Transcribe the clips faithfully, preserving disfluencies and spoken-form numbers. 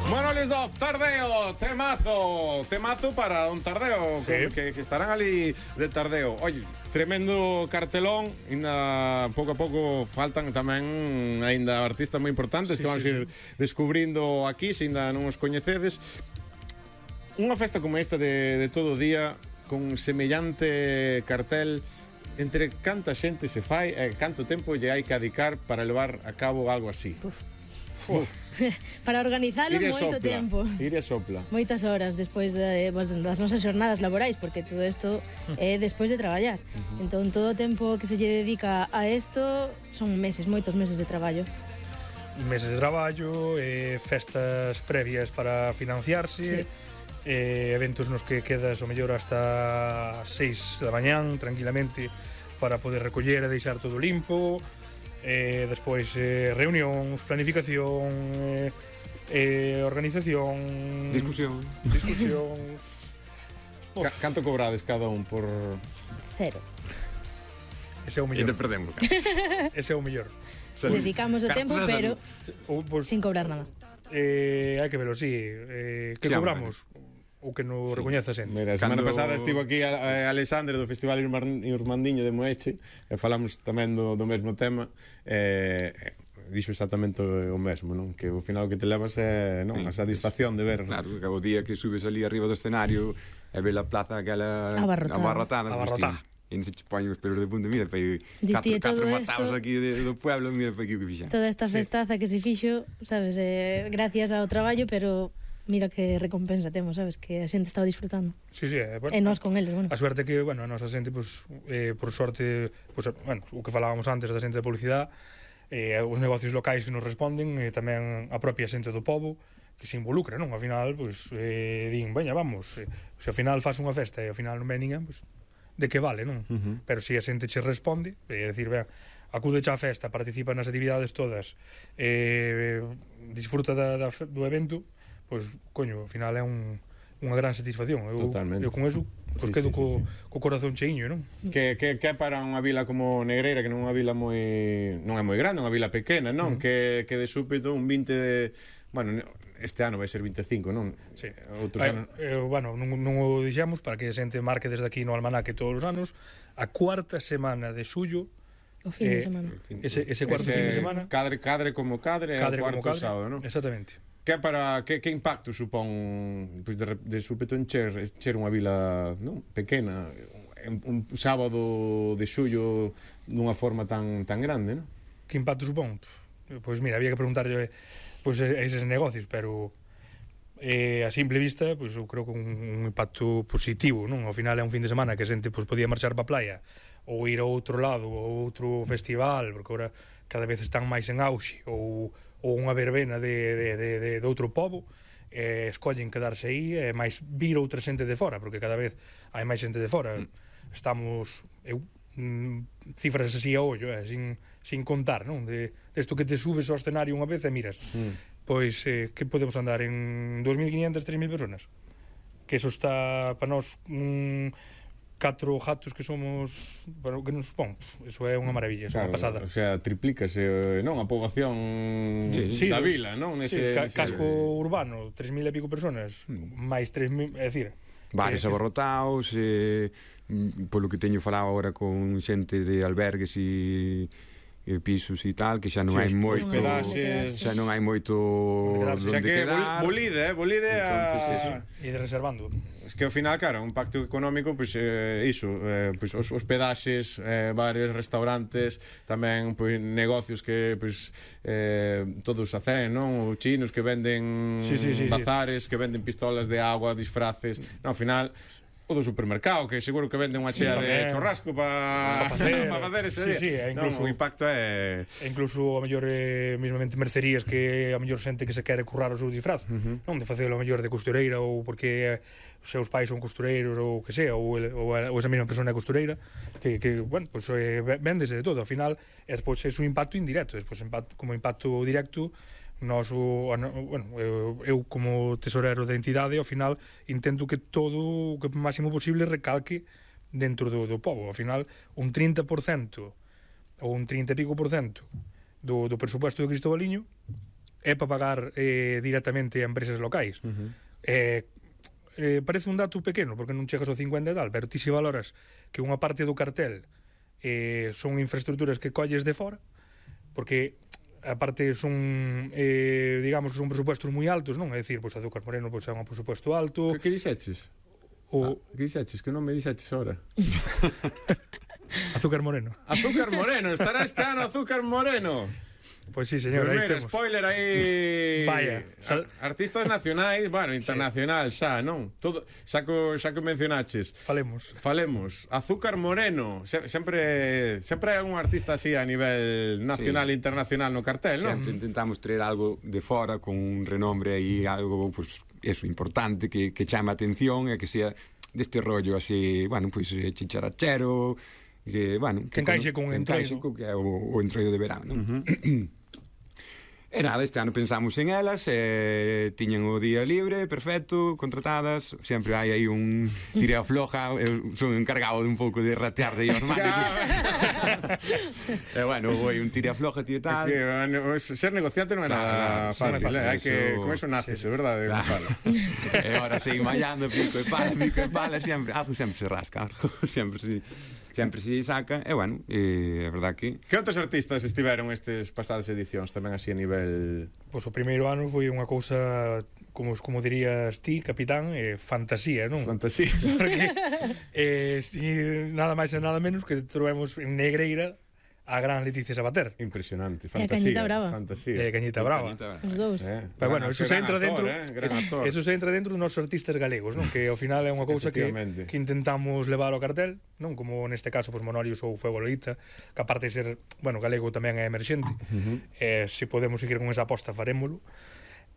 Bueno, les do tardeo, temazo, temazo para un tardeo, sí. que, que estarán ali de tardeo. Oye, tremendo cartelón, ainda pouco a pouco faltan tamén aínda artistas moi importantes sí, que vamos sí, ir sí. descubrindo aquí, se ainda non os coñecedes. Unha festa como esta de, de todo o día, con semellante cartel, entre canta xente se fai e canto tempo lle hai que adicar para levar a cabo algo así. Uf. Uf. Para organizalo moito sopla, tempo. Ire sopla. Moitas horas despois de, das nosas xornadas laborais, porque todo isto é despois de traballar. Uh-huh. Entón todo o tempo que se lle dedica a isto son meses, moitos meses de traballo. Meses de traballo, eh, festas previas para financiarse, sí. eh, eventos nos que quedas o mellor hasta seis da mañán tranquilamente para poder recoller e deixar todo limpo. Eh, despois eh, reunións, planificación, eh, eh, organización, discusión, discusións. Ca canto cobrades cada un por cero? Ese é o mellor. E te perdemos. Ese é o mellor. Dedicamos o tempo, pero o, pues, sin cobrar nada. Eh, hai que verlo, sí. Eh, que sí, cobramos? O que non sí. recoñece a xente. Mira, a semana Cando... pasada estivo aquí a, a Alexandre do Festival Irmandiño de Moeche e falamos tamén do, do mesmo tema e eh, dixo exactamente o mesmo, non? Que ao final o que te levas é non? Sí. A satisfacción de ver. Claro, que o día que subes ali arriba do escenario e ve a plaza aquela abarrotada, abarrotada. E non se che poñen os pelos de punta, mira, foi catro matados aquí de, do pueblo, mira, foi aquí o que fixan. Toda esta festaza sí. que se fixo, sabes, eh, gracias ao traballo, pero mira que recompensa temos, sabes, que a xente estaba disfrutando. Sí, sí, eh, bueno, e nós con eles, bueno. A suerte que, bueno, a nosa xente, pues, eh, por sorte, pues, bueno, o que falábamos antes da xente de publicidade, eh, os negocios locais que nos responden, e eh, tamén a propia xente do pobo, que se involucra, non? Ao final, pues, eh, din, veña, vamos, eh, se ao final faz unha festa e ao final non ven ninguén, pues, de que vale, non? Uh-huh. Pero se a xente che responde, é dicir, ben, acude xa a festa, participa nas actividades todas, eh, disfruta da, da, do evento, pois, coño, ao final é un, unha gran satisfacción. Eu, Totalmente. Eu con eso, pois, sí, quedo sí, co, sí, sí. co corazón cheiño, non? Que, que, que para unha vila como Negreira, que non é unha vila moi... non é moi grande, unha vila pequena, non? Uh-huh. Que, que de súpeto un vinte de... Bueno, este ano vai ser vinte e cinco, non? Sí. Outros eh, anos... eh, bueno, non, non o dixemos para que a xente marque desde aquí no almanaque todos os anos. A cuarta semana de xullo, o fin de semana. Eh, ese, ese cuarto ese fin de semana. Cadre, cadre como cadre, cadre o cuarto como cadre, sábado, non? Exactamente. Que para que, que impacto supón pois de, de súpeto encher, encher unha vila, non, pequena, un, un sábado de xullo dunha forma tan tan grande, non? Que impacto supón? Pois mira, había que preguntarlle pois a eses negocios, pero eh, a simple vista, pois eu creo que un, un impacto positivo, non? Ao final é un fin de semana que a xente pois podía marchar pa playa ou ir a outro lado, ou outro festival, porque agora cada vez están máis en auxe, ou ou unha verbena de, de, de, de, de outro pobo, eh, escollen quedarse aí e máis vir outra xente de fora, porque cada vez hai máis xente de fora. Mm. Estamos, eu, mm, cifras así a ollo, eh, sin, sin contar, non? De, de isto que te subes ao escenario unha vez e miras, mm. pois, eh, que podemos andar en dos mil quinientas, tres mil personas? Que eso está, para nós, un... catro gatos que somos, bueno, que nos supón, eso é unha maravilla, é claro, unha pasada. O sea, triplícase, non, a poboación sí, sí, da vila, non? Nese, sí, ca nese... casco urbano, tres mil e pico personas, mm. máis tres mil, é dicir, bares que, abarrotados, eh, polo que teño falado agora con xente de albergues e e pisos e tal, que xa non sí, hai moito pedaxes, xa non hai moito onde quedar. Bolide, eh, bolide a... e de reservando. Es que ao final, claro, un pacto económico, pois eh, iso, eh, pois os hospedaxes, eh, bares, restaurantes, tamén pois negocios que pois eh, todos hacen, non? Os chinos que venden sí, sí, sí, bazares, sí. que venden pistolas de agua, disfraces. No, ao final o do supermercado, que seguro que vende unha chea sí, de churrasco para pa facer, pa facer ese sí, sí, día. Incluso, no, o impacto é... E incluso, a mellor, eh, mismamente mercerías que a mellor xente que se quere currar o seu disfraz, uh-huh. non? De facelo a mellor de costureira ou porque eh, seus pais son costureiros ou que sea, ou, ou, ou esa mesma persona é costureira, que, que bueno, pues, eh, véndese de todo. Ao final, é despois é un impacto indirecto, despois impacto, como impacto directo, nós, o, bueno, eu, eu como tesorero da entidade, ao final intento que todo o que máximo posible recalque dentro do, do pobo. Ao final, un trinta por cento ou un trinta e pico por cento do, do presupuesto do Cristobaliño é para pagar eh, directamente a empresas locais. Uh-huh. Eh, eh, parece un dato pequeno, porque non chegas ao cincuenta e tal, pero ti se valoras que unha parte do cartel eh, son infraestructuras que colles de fora, porque aparte son, eh, digamos, que son presupuestos moi altos, non? É dicir, pois Azúcar Moreno pois, é un presupuesto alto. Que, que dixeches? O... Ah, que dixeches? Que non me dixeches ahora. Azúcar Moreno. Azúcar Moreno, estará este ano Azúcar Moreno. Pois sí, señor, aí mira, estemos. Spoiler aí. Vaya, sal... artistas nacionais, bueno, internacional sí. xa, non? Todo, xa que xa que mencionaches. Falemos. Falemos. Azúcar Moreno, Se, sempre sempre hai un artista así a nivel nacional e sí. internacional no cartel, non? Sempre intentamos traer algo de fora con un renombre aí, algo pues eso importante que que chama a atención e que sea deste rollo así, bueno, pois pues, chicharachero, que, bueno, que, que encaixe con o entroido, que é o, o entroido de verano, non? Uh-huh. E nada, este ano pensamos en elas, eh, tiñen o día libre, perfecto, contratadas, sempre hai aí un tira floja, eu son encargado de un pouco de ratear de os manes. E bueno, foi un tira floja, tío tal. Que, bueno, ser negociante non é nada fácil, fácil, eh? Hai que, con eso naces, é verdade, claro. E agora seguir mallando, pico e pala, pico e pala, sempre, algo sempre se rasca, sempre se... sempre se saca, e bueno, é verdad que... Que outros artistas estiveron estes pasadas edicións, tamén así a nivel... Pois o primeiro ano foi unha cousa, como, como dirías ti, capitán, eh, fantasía, non? Fantasía. Porque, eh, si, nada máis e nada menos que trovemos en Negreira a gran Leticia Sabater. Impresionante, E fantasía. a Cañita Brava. Fantasía. E a Cañita Brava. Os dous. Eh, pero bueno, eso se entra actor, dentro, eh, gran actor. Eso se entra dentro dos nosos artistas galegos, non? Que ao final é unha cousa que, que intentamos levar ao cartel, non? Como neste caso, pues, Monorius ou Fuego Lolita, que aparte de ser, bueno, galego tamén é emerxente. Uh-huh. Eh, se podemos seguir con esa aposta, farémolo.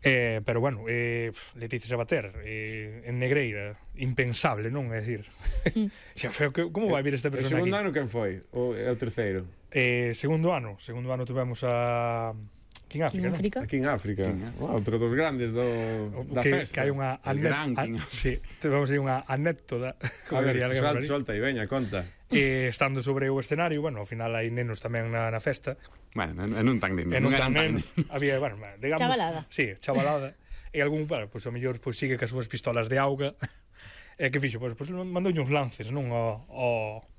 Eh, pero bueno, eh, Leticia Sabater eh, en Negreira, impensable, non? É dicir, xa feo, como vai vir esta persona aquí? O segundo ano quen foi? O, é o terceiro? Eh, segundo ano, segundo ano tuvemos a... Aquí en África, en África? Aquí en África. Wow, outro dos grandes do, da que, festa. Que hai unha anécdota. Sí, temos aí unha anécdota. A ver, solta, solta e veña, conta. Eh, estando sobre o escenario, bueno, ao final hai nenos tamén na, na festa. Bueno, e non tan nenos. E non tan nenos. Había, bueno, digamos... Chavalada. Sí, chavalada. E algún, bueno, pois, pues, ao mellor, pois, pues, sigue que as súas pistolas de auga. E que fixo? Pois, pues, pues, mandoulle uns lances, non? Ao, ao,